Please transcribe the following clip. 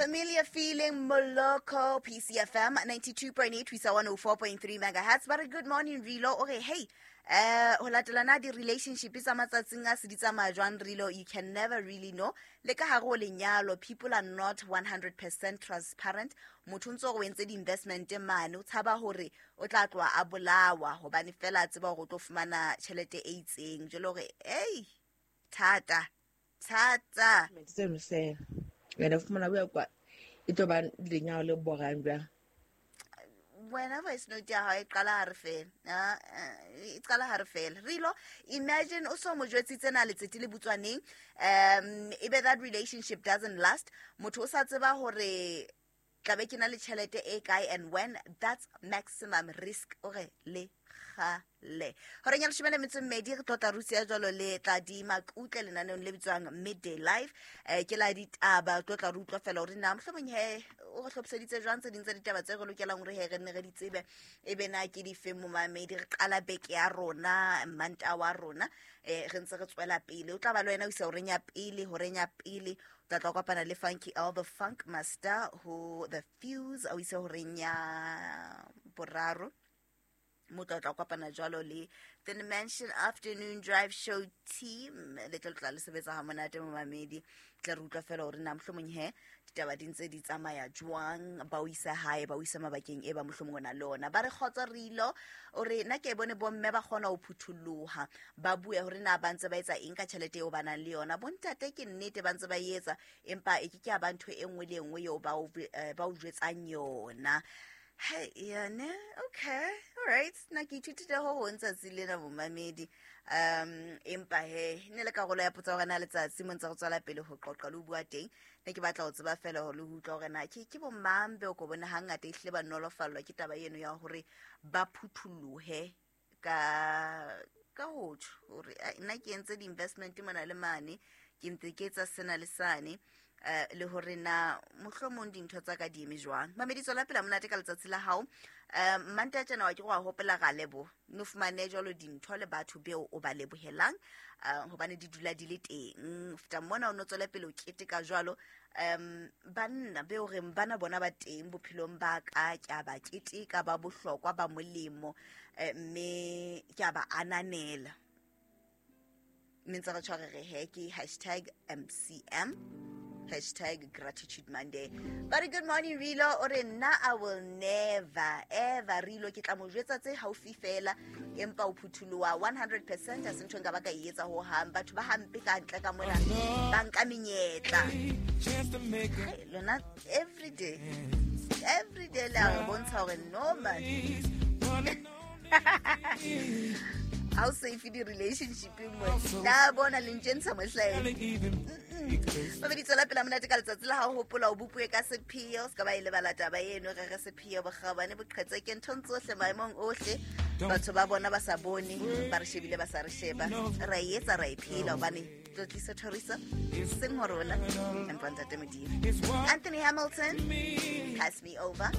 Familiar feeling, Moloko, PCFM 92.8 ho isa 104.3 megahertz. Ba re good morning Rilo. Okay, hey, ho latela na di-relationship tsa matsatsing a se di tsamaya jwang Rilo, you can never really know. Le ka hare ho lenyalo, people are not 100% transparent. Motho o ntse o re o entse di-investment mane, o tshaba hore o tla tloha a bolawa hobane fela a tseba hore o tlo fumana tjhelete e itseng. Jwale hore, ei, thata, thata. Tseno se wena fumana o ya kwa e tlo ba lenyalo le borang jwang. Wena voice note ya hao e qala hare fela. Ah, e qala hare fela. Rilo, imagine o so mo jwetsitse na letsete le butswaneng, ebe that relationship doesn't last. Motho o sa tseba hore tla be ke na le tjhelete e kae and when. That's maximum risk. O re le kgale. Horeng ya leshome le metso e mmedi re tlotla Rusia jwalo le Tladi Makutle lenaneong le bitswang Midday Live. Ke la ditaba, re tlotla re utlwa fela hore na mohlomong he o re hlophiseditse jwang tse ding tsa ditaba tse re lokelang hore he re nne re di tsebe, ebe na ke dife momamedi. Re qala beke ya rona, Manta wa rona, re ntse re tswela pele. O tla ba le wena o isa horeng ya pele, horeng ya pele o tla tla kopana le Funky L the Funk Master ho The Fuse, o ise horeng ya boraro. Mo tla tla kopana jwalo le The Dimension Afternoon Drive Show team. Le tlo tla le sebetsa ha monate momamedi. Tla re utlwa fela hore na mohlomong he ditaba di ntse di tsamaya jwang, ba o isa hae, ba o isa mabakeng e ba mohlomong o na le ona. Ba re kgotso Rilo, o re nna ke bone bomme ba kgona ho phuthulloha, ba bue hore na ba ntse ba etsa eng ka tjhelete eo ba nang le yona. Bontate ke nnete ba ntse ba e etsa, empa e ke ke ya ba ntho e nngwe le e nngwe eo ba o jwetsang yona. Hey, yane, okay, all right. Nna ke ithutile ho hong tsatsi lena momamedi. Empa he, ne le karolo ya potso ya hore na letsatsi mo ntse re tswela pele ho qoqa le ho bua teng. Ne ke batla ho tseba fela hore le ho utlwa hore na ke bo mang beo ko bone hangata ehlile ba nolofallwa ke taba eno ya hore ba phuthullohe ka ho tjho hore, nna ke entse di-investment mona le mane, ke ntse ke etsa sena le sane, le hore na mohlomong dintho tsa ka di eme jwang. Mamedi, tswela pele monate ka letsatsi la hao. Manta tjena wa ke go a hopola ra lebo, no fumane jwalo dintho le batho beo o ba lebohelang, hobane di dula di le teng. Feta mona o no tswele pele o keteka jwalo. Banna beo reng bana bona ba teng bophelong ba ka, ke a ba keteka, ba bohlokwa, ba molemo, mme ke a ba ananela. Mme ntse re tshware re he ke hashtag MCM, hashtag Gratitude Monday. But good morning Rilo, o re nna I will never ever Rilo, ke tla mo jwetsa tse haufi fela, empa o phuthuloha 100% ha se ntho e nka ba ka e etsa ho hang. Batho ba hampe ka ntle ka mona, ba nka menyetla. Hey, lona every day, every day le a re bontsha hore no man. How safe di relationship mo? Na bona le ntshentsha mohlaena. Babedi tswela pele monate ka letsatsi la hao, hopola o bopuwe ka sepheo, se ka ba e lebala taba eno, re re sepheo bokgabane boqhetseke nthong tsohle maemong ohle. Batho ba bona ba sa bone, ba re shebile ba sa re sheba. Ra e etsa, ra e phela hobane tlotliso thoriso seng ho rona, empa ntate Modimo. Anthony Hamilton, Pass Me Over.